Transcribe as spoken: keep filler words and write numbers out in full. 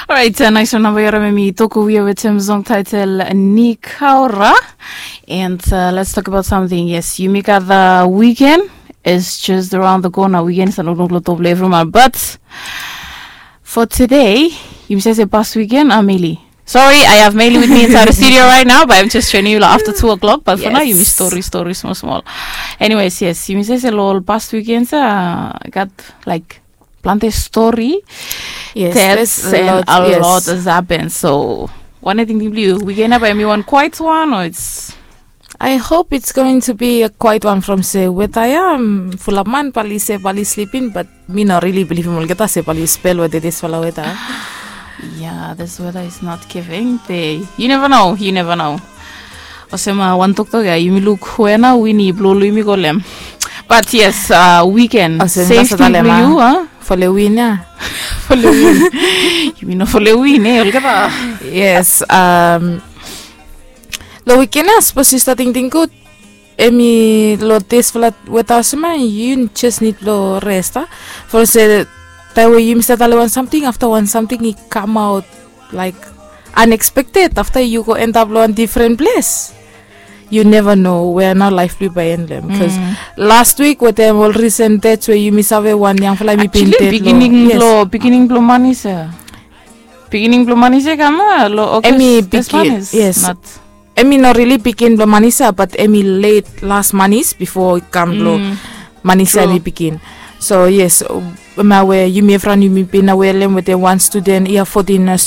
Alright, uh, nice one namba yara me mi toko wia wetem song title Nikaora. And uh, let's talk about something. Yes, yumi gat the weekend is just around the corner. Weekend is another lot of everyone. But for today, yumi sese past weekend, Ameli. Sorry, I have Meli with me inside the studio right now, but I'm just training you like, after two o'clock. But for now, yumi story, story, small, small. Anyways, yes, yumi sese lo past weekend sa gat like plante story. Yes, that's a lot, a lot has happened. So, wan ating blong yu, weekend ya bae hemi wan quiet one, or it's I hope it's going to be a quiet one from se weta ya, um, fulap man bae oli se bae oli slipin, but mi no really bilivim olgeta se bae oli spel weta disfala weta. Yeah, this weather is not giving. Be, you never know, you never know. Olsem, uh, wan toktok ya, yumi luk we nao win i blong yumi go lo hem. But yes, uh, weekend. Olsem, safety blong yu, huh? Fo lo win ya. Fo lo win. Yumi no fo lo win, eh, olgeta. Yes, um, lo weekend ya, sapos yu stap tingting gud, hemi lo disfala weta olsem ya, yu just nid blong res, a? From se taem we yumi stap talem wan samting, afta wan samting i kamaot like unexpected, afta yu go endap lo wan difren ples. Yu neva no wea nao laef blong yu bae en lo hem. Bikos las wik wetem ol risen dets we yumi save wan yangfala hemi bin ded lo, yes, bigining blong manis ya. Bigining blong manis ya i kam ya lo August. Hemi bigin, yes. Hemi no rili bigin blong manis ya, bat hemi let las manis bifo i kam blong manis ya hemi bigin. So yes, hemia we yumi evriwan yumi bin na welem wetem wan studen ya, fotin